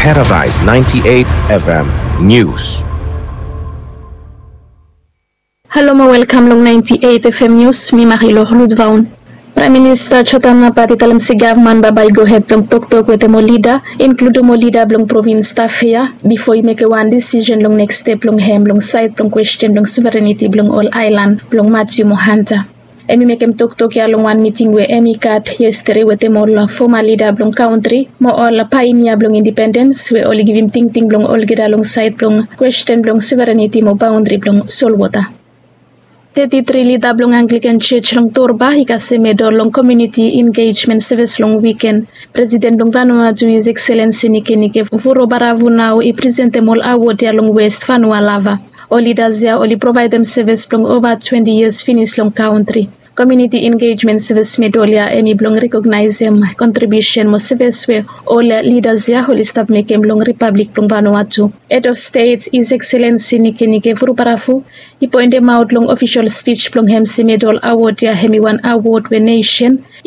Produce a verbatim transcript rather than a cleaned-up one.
Paradise ninety-eight F M News. Halo mo welkam long ninety-eight F M News, mi Marilor Ludvaun. Praem Minista Jotam Napat i talem se gavman bambae i gohed blong toktok wetem ol lida, inkludum ol lida blong provins Tafea, bifo i mekem wan disisen long neks step blong hem long saed blong kwesten blong sovereniti blong ol aelan blong Matthew mo Hunter. Hem i mekem toktok ya long wan miting we hem i gat yestade wetem ol foma lida blong kantri mo ol paenia blong indipendens we oli givim tingting blong olgeta long saed blong kwesten blong sovereniti mo baondri blong solwota. Teti tri lida blong Anglikan Jos long Torba i kasem medol long komuniti engejmen sevis long wiken. Presiden blong Vanuatu, His Excellency Nikenike Vurobaravu, nao i presentem ol awod ya long West Vanua Lava. Ol lidas ya oli provaedem sevis blong ova twenti yias finis long kantri. Komuniti engejmen sevis medol ya hem i blong rekognaesem kontribiusen mo sevis we ol lidas ya oli stap mekem long Ripablik blong Vanuatu. Hed of Stet, His Excellency Nikenike Vurobaravu, i poendemaot long ofisol spij blong hem se medol awod ya hem i wan awod we nesen i